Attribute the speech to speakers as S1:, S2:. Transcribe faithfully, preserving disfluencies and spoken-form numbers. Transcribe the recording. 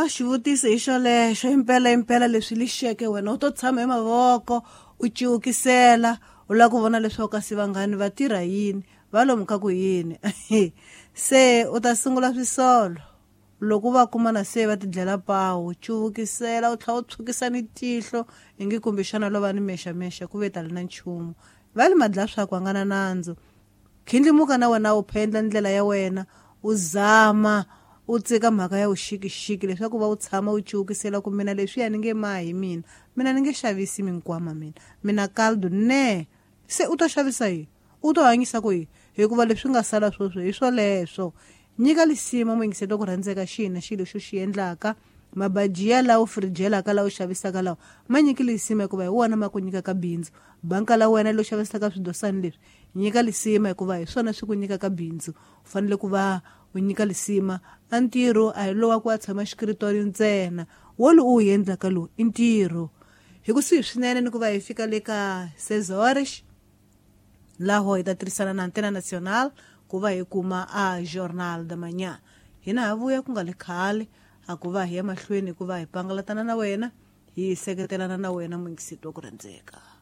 S1: A xivutiso hi xolexo impela impela leswi lixeke wena u to tshama hi mavoko u ciukisela u lava ku vona leswaku kasi vanghani va tirha yini va lomu ka ku yini se u ta sungula swisolo loko va kuma na se va tidlela pawu cuvukisela u tlhela u tshukisa ni tihlo ingi kumbexana lo va ni mexamexa ku ve tali na nchumu va li madla swa ku a nga na nandzu khindlimuka na wena u phendla ndlela ya wena u zama u tsika mhaka ya vuxikixiki leswaku va u tshama u cuvukisela ku mina leswiya ni nge mahi mina mina ni nge xavisi minkwama mina mina caldo ne se u to xavisa yini u to hanyisa ku yini hikuva leswi nga sala sweswo hi swoleswo nyika lisima muyingiselo ku rhandzeka xina xilo xo xi endlaka mabajiya lawa firijelaka lawa xavisaka lawa ma nyiki lisima hikuva hi wona ma ku nyikaka bindzu banka la wena lo xavisaka swidosani leswi nyika lisima hikuva hi swona swi ku nyikaka bindzu u fanele ku va u nyika lisima a ntirho a hi lowa ku a tshama xikritori ntsena wo lowu u wu endlaka lowu i ntirho hi kusuhi swinene ni ku va hi fika le ka sezores laho hi ta tirhisana na Antena Nacional ku va hi kuma a Jornal da Manhã hina ha vuya ku nga le khale a ku va hi ya mahlweni ku va hi pangalatana na wena hi seketelana na wena muyingiseti wa ku rhandzeka.